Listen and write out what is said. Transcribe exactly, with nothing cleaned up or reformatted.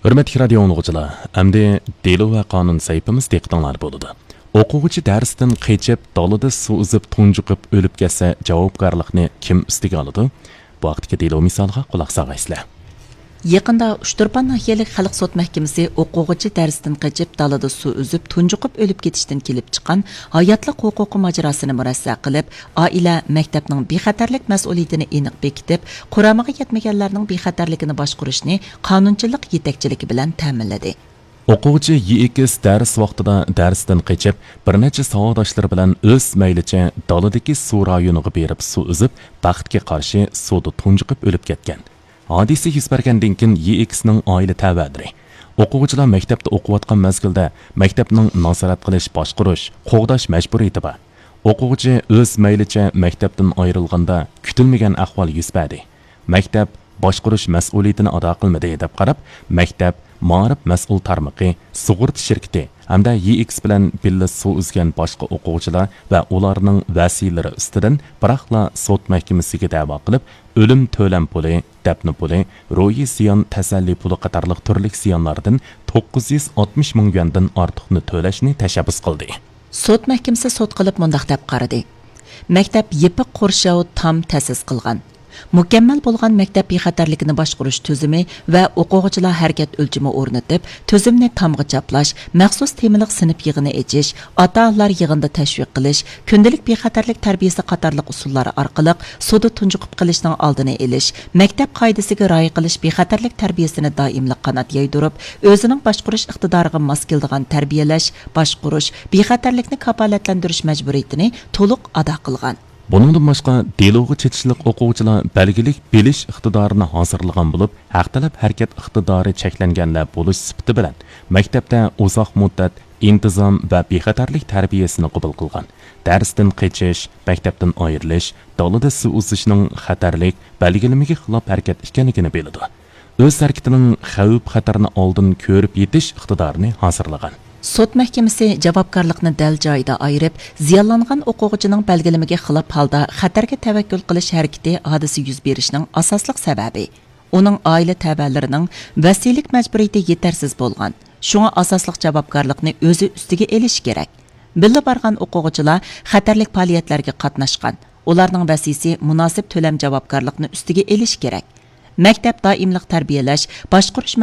ھۆرمەتلىك رادىيو ئاڭلىغۇچىلار، ئەمدى دېلو ۋە قانۇن سەھىپىمىز دىققىتىڭلاردا بولىدۇ. ئوقۇغۇچى دەرستىن قېچىپ، دالىدا سۇ ئۈزۈپ تۇنجۇقۇپ ئۆلۈپ كەتسە، جاۋابكارلىقنى كىم ئۈستىگە ئالىدۇ؟ بۇ ھەقتىكى دېلو مىسالىغا قۇلاق سالغايسىلەر. يېقىندا ئۇچتۇرپان ناھىيەلىك خەلق سوت مەھكىمىسى ئوقۇغۇچى دەرستىن قېچىپ، دالىدا سۇ ئۈزۈپ تۇنجۇقۇپ ئۆلۈپ كېتىشتىن كېلىپ چىققان ھاياتلىق ھوقۇقى ماجىراسىنى مۇرەسسە قىلىپ، ئائىلە، مەكتەپنىڭ بىخەتەرلىك مەسئۇلىيىتىنى ئېنىق بېكىتىپ، قۇرامىغا يەتمىگەنلەرنىڭ بىخەتەرلىكىنى باشقۇرۇشنى قانۇنچىلىق يېتەكچىلىكى بىلەن تەمىنلىدى. ئوقۇغۇچى يېئىكىس دەرس ۋاقتىدا دەرستىن قېچىپ، بىر نەچچە ساۋاقداشلىرى بىلەن ئۆز مەيلىچە دالىدىكى سۇ رايونىغا بېرىپ سۇ ئۈزۈپ، بەختكە قارشى سۇدا تۇنجۇقۇپ ئۆلۈپ كەتكەن. ھادىسە يۈز بەرگەندىن كېيىن يېئىكىسنىڭ ئائىلە تەۋەلىرى، ئوقۇغۇچىلار مەكتەپتە ئوقۇۋاتقان مەزگىلدە مەكتەپنىڭ نازارەت قىلىش، باشقۇرۇش، قوغداش مەجبۇرىيىتى بار. ئوقۇغۇچى ئۆز مەيلىچە مەكتەپتىن ئايرىلغاندا كۈتۈلمىگەن ئەھۋال يۈز بەردى. مەكتەپ باشقۇرۇش مەسئۇلىيىتىنى ئادا قىلمىدى دەپ قاراپ، مەكتەپ مائارىپ مەسئۇل تارمىقى، سۇغۇرتا شىركىتى ھەمدە يېئىكىس بىلەن بىللە سۇ ئۈزگەن باشقا ئوقۇغۇچىلار ۋە ئۇلارنىڭ ۋەسىيلىرى ئۈستىدىن بىراقلا سوت مەھكىمىسىگە دەۋا قىلىپ، ئۆلۈم تۆلەم پۇلى، دەپنە پۇلى، روھىي زىيان تەسەللى پۇلى قاتارلىق تۈرلۈك زىيانلاردىن توققۇز يۈز ئاتمىش مىڭ يۈەندىن ئارتۇقنى تۆلەشنى تەشەببۇس قىلدى. سوت مەھكىمىسى سوت قىلىپ مۇنداق دەپ قارىدى: مەكتەپ يېپىق قورشاۋ تام تەسىس قىلغان، مۇكەممەل بولغان مەكتەپ بىخەتەرلىكىنى باشقۇرۇش تۈزۈمى ۋە ئوقۇغۇچىلار ھەرىكەت ئۆلچىمى ئورنىتىپ، تۈزۈمنى تامغا چاپلاش، مەخسۇس تېمىلىق سىنىپ يىغىنى ئېچىش، ئاتا-ئانىلار يىغىنىدا تەشۋىق قىلىش، كۈندىلىك بىخەتەرلىك تەربىيەسى قاتارلىق ئۇسۇللار ئارقىلىق سۇدا تۇنجۇقۇپ قېلىشنىڭ ئالدىنى ئېلىش، مەكتەپ قائىدىسىگە رىئايە قىلىش بىخەتەرلىك تەربىيەسىنى دائىملىق قانات يايدۇرۇپ، ئۆزىنىڭ باشقۇرۇش ئىقتىدارىغا ماس كېلىدىغان تەربىيەلەش، باشقۇرۇش، بىخەتەرلىكنى كاپالەتلەندۈرۈش مەجبۇرىيىتىنى تولۇق ئادا قىلغان. بۇنىڭدىن باشقا، دېلوغا چېتىشلىق ئوقۇغۇچىلار بەلگىلىك بىلىش ئىقتىدارىنى ھازىرلىغان بولۇپ، ھەق تەلەپ ھەرىكەت ئىقتىدارى چەكلەنگەنلەر بولۇش سۈپىتى بىلەن، مەكتەپتە ئۇزاق مۇددەت ئىنتىزام ۋە بىخەتەرلىك تەربىيەسىنى قوبۇل قىلغان. دەرستىن قېچىش، مەكتەپتىن ئايرىلىش، دالىدا سۇ ئۈزۈشنىڭ خەتەرلىك بەلگىلىمىگە خىلاپ ھەرىكەت ئىكەنلىكىنى بىلىدۇ. ئۆز ھەرىكىتىنىڭ خەۋپ-خەتىرىنى ئالدىن كۆرۈپ يېتىش ئىقتىدارىنى ھازىرلىغان. سوت مەھكىمىسى جاۋابكارلىقنى دەل جايىدا ئايرىپ، زىيانلانغان ئوقۇغۇچىنىڭ بەلگىلىمىگە خىلاپ ھالدا خەتەرگە تەۋەككۈل قىلىش ھەرىكىتى ھادىسە يۈز بېرىشنىڭ ئاساسلىق سەۋەبى، ئۇنىڭ ئائىلە تەۋەلىرىنىڭ ۋەسىيلىك مەجبۇرىيىتى يېتەرسىز بولغان، شۇڭا ئاساسلىق جاۋابكارلىقنى ئۆزى ئۈستىگە ئېلىشى كېرەك. بىللە بارغان ئوقۇغۇچىلار خەتەرلىك پائالىيەتلەرگە قاتناشقان، ئۇلارنىڭ ۋەسىيسى مۇناسىپ تۆلەم جاۋابكارلىقنى ئۈستىگە ئېلىشى كېرەك. مەكتەپ دائىملىق تەربىيەلەش، باشقۇرۇش